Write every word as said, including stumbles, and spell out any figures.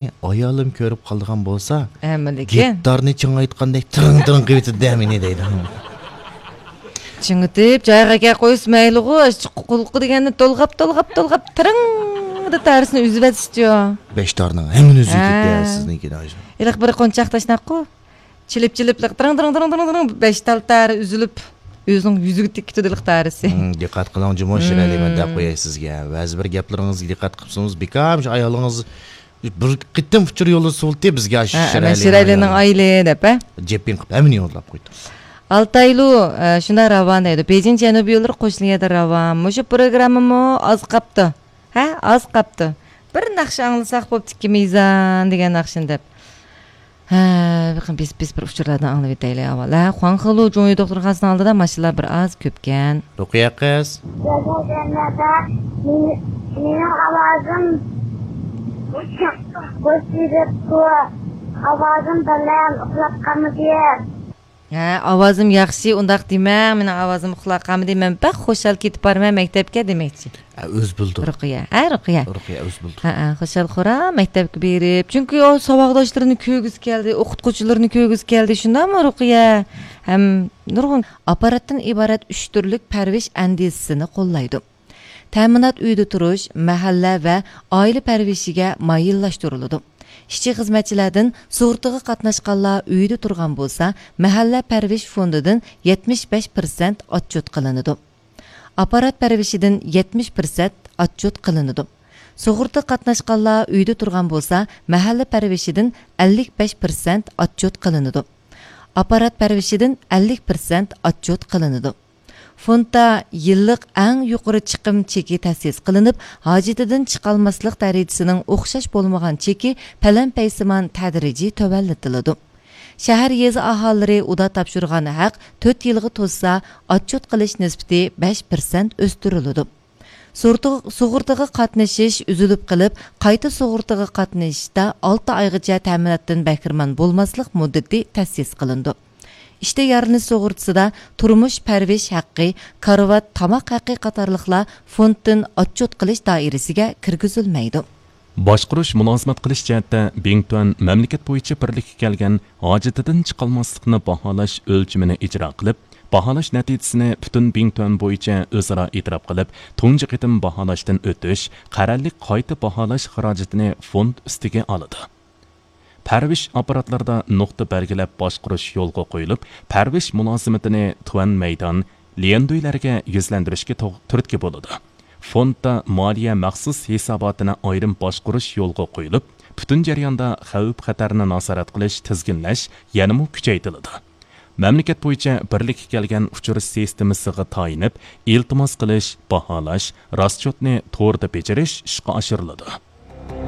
ئايالىم كۆرۈپ قالىدىغان بولسا، ھەممىدىكى گىتارنى چىڭايتقاندەك تىرىڭ تىرىڭ قىلىۋېتىدۇ مېنى دەيدۇ. چىڭىتىپ جايىغا ئەكەپ قويسا مەيلىغۇ، ئاشۇ قۇلىقى دېگەننى تولغاپ تولغاپ تولغاپ تىرىڭ دەپ تارىسىنى ئۈزۈۋەتسىچۇ. بەش تارنىڭ ھەممىنى ئۈزۈۋېتىپتۇ ھە. سىزنىڭكىنى ئاشۇ. ھېلىقى بىر قونچاق تاشناققۇ. چېلىپ چېلىپ تىرىڭ تىرىڭ تىرىڭ تىرىڭ تىرىڭ بەش تال تارى ئۈزۈلۈپ، ئۆزىنىڭ يۈزىگە تېگىپ كېتىدۇ ھېلىقى تارىسى. ھىم، دىققەت قىلىڭ جۇمۇ شىرئەلى، مەن دەپ قوياي سىزگە. بەزى بىر گەپلىرىڭىزگە دىققەت قىپسىڭىز بىكار شۇ ئايالىڭىز بىر قېتىم ئۇچۇر يوللىسا بولدى بىزگە ئاشۇ ھە، شىرئەلى مەن شىرئەلىنىڭ ئايالى دەپ ھە. جېپىڭ قىپ ھەممىنى يوللاپ قويدۇم. ئالتايلۇ، ئە، شۇنداق راۋان دەيدۇ. بېيجىڭ جەنۇبىي يوللىرى قوشنا يەردە راۋان. مۇشۇ پروگراممىمۇ ئاز قاپتۇ. ھە، ئاز قاپتۇ. بىر ناخشا ئاڭلىساق بوپتىكى مىزان دېگەن ناخشىنى دەپ. ھە، بېقىڭ، بىز، بىز بىر ئۇچۇرلاردىن ئاڭلىۋېتەيلى ئاۋۋال. ھە، خۇاڭخېلۇ جۇڭيى دوختۇرخانىسىنىڭ ئالدىدا ماشىنىلار بىر ئاز كۆپكەن. رۇقىيە قىز. مېنىڭ ئاۋازىم بوشىدىپتۇ. ئاۋازىم بەلەن ئۇخلاپ قالمىدى. ھە، ئاۋازىم ياخشى، ئۇنداق دېمەڭ، مېنىڭ ئاۋازىم ئۇخلاپ قالمىدى، مەن بەك خۇشال كېتىپ بارىمەن مەكتەپكە دېمەكچى. ھە، ئۆز بىلدۇر. رۇقىيە، ھە، رۇقىيە. رۇقىيە، ئۆز بىلدۇر. ھە، ھە، خۇشال خورا مەكتەپكە بېرىپ، چۈنكى ئۇ ساۋاقداشلىرىنى كۆرگۈسى كەلدى، ئوقۇتقۇچىلىرىنى كۆرگۈسى كەلدى، شۇنداقمۇ رۇقىيە؟ ھەم نۇرغۇن ئاپپاراتتىن ئىبارەت ئۈچ تۈرلۈك پەرۋىش ئەندىزىسىنى قوللايدۇ. تەمىنات ئۆيدە تۇرۇش، مەھەللە ۋە ئائىلە پەرۋىشىگە مايىللاشتۇرۇلىدۇ. ئىشچى خىزمەتچىلەردىن سۇغۇرتىغا قاتناشقانلار ئۆيدە تۇرغان بولسا، مەھەللە پەرۋىش فوندىدىن يەتمىش بەش پىرسەنت ئاتچوت قىلىنىدۇ. ئاپپارات پەرۋىشىدىن يەتمىش پىرسەنت ئاتچوت قىلىنىدۇ. سۇغۇرتا قاتناشقانلار ئۆيدە تۇرغان بولسا، مەھەللە پەرۋىشىدىن ئەللىك بەش پىرسەنت ئاتچوت قىلىنىدۇ. ئاپپارات پەرۋىشىدىن ئەللىك پىرسەنت ئاتچوت قىلىنىدۇ. فوندتا يىللىق ئەڭ يۇقىرى چىقىم چېكى تەسىس قىلىنىپ، ھاجىتىدىن چىقالماسلىق دەرىجىسىنىڭ ئوخشاش بولمىغان چېكى پەلەمپەيسىمان تەدرىجىي تۆۋەنلىتىلىدۇ. شەھەر، يېزا ئاھالىلىرى ئۇدا تاپشۇرغان ھەق تۆت يىلغا توشسا، ئاتچوت قىلىش نىسبىتى بەش پىرسەنت ئۆستۈرۈلىدۇ. سۇغۇرتىغا، سۇغۇرتىغا قاتنىشىش ئۈزۈلۈپ قېلىپ، قايتا سۇغۇرتىغا قاتنىشىشتا ئالتە ئايغىچە تەمىناتتىن بەھرىمەن بولماسلىق مۇددىتى تەسىس قىلىنىدۇ. ئىشتە يارىلىنىش سۇغۇرتىسىدا تۇرمۇش پەرۋىش ھەققى، كارىۋات، تاماق ھەققى قاتارلىقلار فوندتىن ئاتچوت قىلىش دائىرىسىگە كىرگۈزۈلمەيدۇ. باشقۇرۇش، مۇلازىمەت قىلىش جەھەتتە بىڭتۈەن مەملىكەت بويىچە بىرلىككە كەلگەن ھاجىتىدىن چىقالماسلىقنى باھالاش ئۆلچىمىنى ئىجرا قىلىپ، باھالاش نەتىجىسىنى پۈتۈن بىڭتۈەن بويىچە ئۆزئارا ئېتىراپ قىلىپ، تۇنجى قېتىم باھالاشتىن ئۆتۈش، قەرەللىك قايتا باھالاش خىراجىتىنى فوند ئۈستىگە ئالىدۇ. پەرۋىش ئاپپاراتلىرىدا نۇقتا بەلگىلەپ باشقۇرۇش يولغا قويۇلۇپ، پەرۋىش مۇلازىمىتىنى تۈەن مەيدان، ليەندۈيلەرگە يۈزلەندۈرۈشكە توغ-، تۈرتكە بولىدۇ. فوندتا مالىيە مەخسۇس ھېساباتىنى ئايرىم باشقۇرۇش يولغا قويۇلۇپ، پۈتۈن جەرياندا خەۋپ-خەتەرنى نازارەت قىلىش، تىزگىنلەش يەنىمۇ كۈچەيتىلىدۇ. مەملىكەت بويىچە بىرلىككە كەلگەن ئۇچۇر سىستېمىسىغا تايىنىپ، ئىلتىماس قىلىش، باھالاش، راسچوتنى توردا بېجىرىش ئىشقا ئاشۇرۇلىدۇ.